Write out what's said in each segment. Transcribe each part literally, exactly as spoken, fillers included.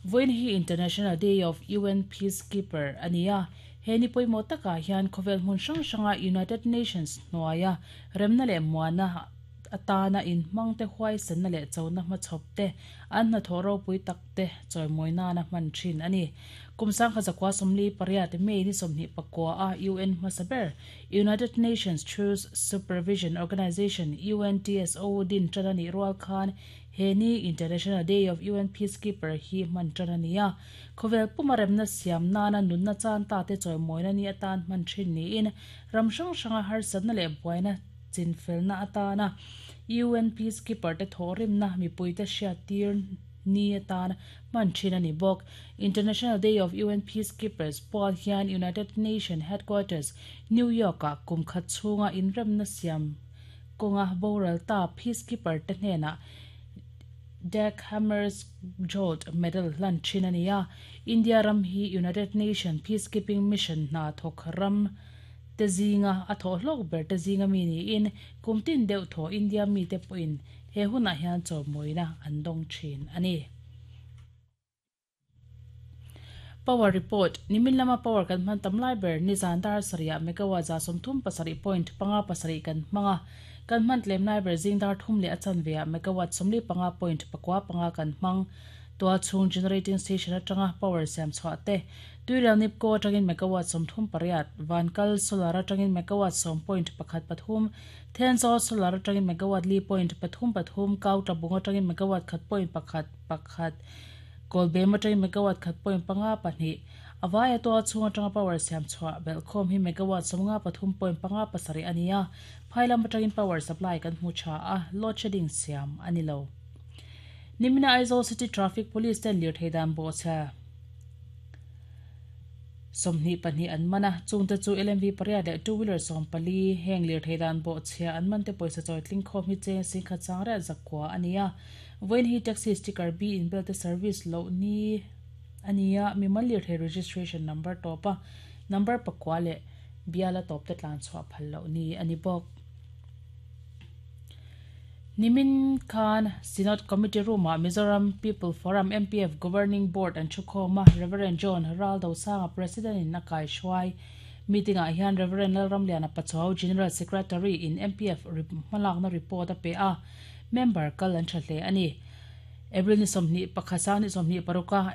Voin hi International Day of U N Peacekeeper ania heni poimo taka hian khovel hmun hrang hranga United Nations hnuaia remna leh muana atana in hmangte huai senna leh chona hma chhawp te an hna thawh ropui tak te chawimawina na hman thin ani. Kumsang kha zakwa somli pariat May ni sawmhnih pakua a U N hmasaber United Nations Truce Supervision Organization U N T S O din tan ani rual khan heni International Day of U N Peacekeeper hi hman tan ania khovel pumaremna siam nana nunna chan ta te chawimawina ni atan hman thin ni in ram hrang hranga har satna leh buaina chinfelna atana U N Peacekeeper te thorimna mipuite hriat tir ni atan hman thin ani bawk. International Day of U N Peacekeepers pual hian United Nations Headquarters New York a kum khat chhunga inremna siam kawnga boral ta Peacekeeper te hnenah Dag Hammarskjöld Medal hlan thin ania. India ram hi United Nations Peacekeeping Mission hna thawk ram te zinga a thaw hlawk ber te zinga mi niin kumtin deuh thaw India mi te pawhin he hunah hian chawmawina an dawng thin ani. Power report nimin lama power kan hman tam lai ber ni zan dar sarih megawatt za sawmthum pasarih point panga pasarih kan hmanga kan hman tlem lai ber zing dar thum leh a chanve ah megawatt sawmli panga point pakua panga kan hmang tua chhung generating station atanga power siam chhuah te tuirial nipko atangin megawatt sawmthum pariat vankal solar atangin megawatt sawm point pakhat pathum Thenzawl solar atangin megawatt li point pathum pathum kau tlabung atangin megawatt khat point pakhat pakhat Kolbem atangin megawatt khat point panga pahnih awai tua chhung atanga power siam chhuah belkhawm hi megawatt sawmnga pathum point panga pasarih ania phailam atangin power supply kan hmu tha a load shedding siam ani lo. Nimina Aizawl City Traffic Police ten lir theidan bo cha sawmhnih pahnih an mana chungte chu L M V pariat leh two wheeler sawm pali heng lir theidan bo chhia an man te pawisa chawi tling khawm hi cheng sing khat chang riat zakua ania. Voin hi taxi sticker B in bel te service lo ni ania mimal lir thei registration number topa number pakua leh biala top te tlan chhuah phal lo ni ani bawk. Nimin Khan Synod Committee Room ah Mizoram People Forum M P F Governing Board an thukhawma Reverend John Raldo Sanga President in Akai Shuai meeting ah hian Reverend Lalramliana Pachuau General Secretary in M P F hmalakna report a pe a member kal an tha hle ani. April ni sawmhnih pakhat ni sawmhnih paruka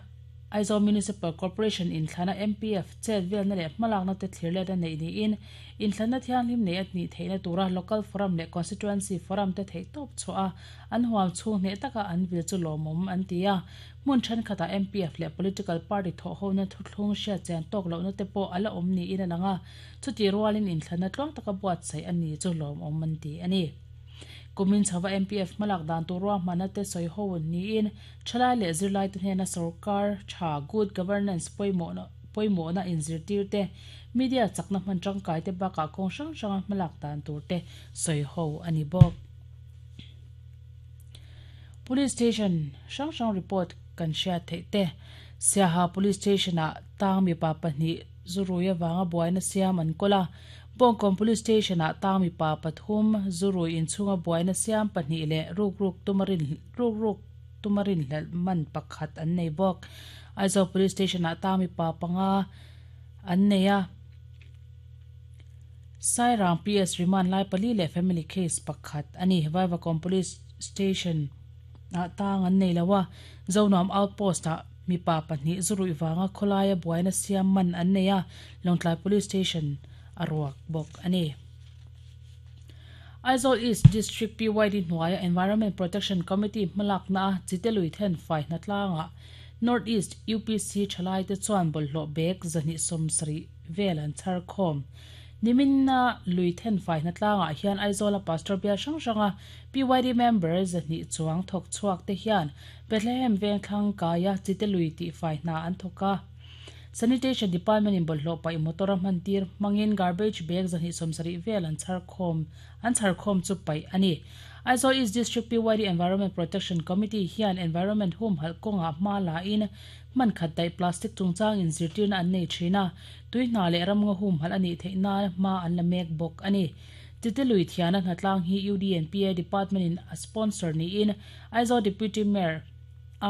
Aizawl Municipal Corporation in thlana M P F chet velna leh hmalakna te thlir let a nei niin in thlana thianghlim nei a nih theihna tura local forum leh constituency forum te theih tawp chhuah a an huam chhung hneh taka an vil chu lawmawm an ti a hmun thenkhatah M P F leh political party thawh hona thuthlung hriat chian tawk lohna te pawh ala awm niin a lang a chuti rualin in thlana tluang taka buatsaih a ni chu lawmawm an ti ani. Kumin chhawa M P F hmalak dan turua hmana te sawi ho niin thalai leh zirlai te hnena sarkar tha good governance pawimawh pawimawhna inzirtir te media chakna hman tangkai te bakah kawng hrang hranga hmalak dan tur te sawi ho ani bawk. Police station hrang hrang report kan hriat theih te Siaha Police Station ah tang mi pa pahnih zurui awanga buaina siam an kawla Bongkong Police Station ah tang mi pa pathum zurui inchhunga buaina siam pahnih leh ruk ruk tumarin ruk ruk tumarin hlel man pakhat an nei bawk. Aizawl Police Station ah tang mi pa panga an nei a Sairang P S remand lai pali leh family case pakhat ani. Vaivakawn Police Station ah tang an nei loa Zonuam Outpost ah mi pa pahnih zurui wanga khawlaia buaina siam man an nei a Lawngtlai Police Station aruak bawk ani. Aizawl East District P Y D hnuaia Environment Protection Committee hmalakna a chitelui then fai hnatlanga North East U P C thalai te chuan bawlhhlawh bag zahnih sawm sarih vel an chhar khawm. Niminna lui then fai hnatlanga hian Aizawl a pastor bial hrang hranga P Y D member zahnih chuang thawk chhuak te hian Bethlehem vengthlang kaia chitelui tih fai hna an thawk a. Sanitation Department in bawlhhlawh paih motor a hman tir hmangin garbage bag zahnih sawm sarih vel an chhar khawm an chhar khawm chu paih ani. Aizawl East District P Y D Environment Protection Committee hian Environment hum halh kawnga hma la in hman khat daih plastic chungchang in zirtirna an nei thin a tui hna leh ramngaw hum halh ani theih nan hma an la mek bawk ani. Titelui thiana hnatlang hi U D N P A Department in a sponsor niin Aizawl Deputy Mayor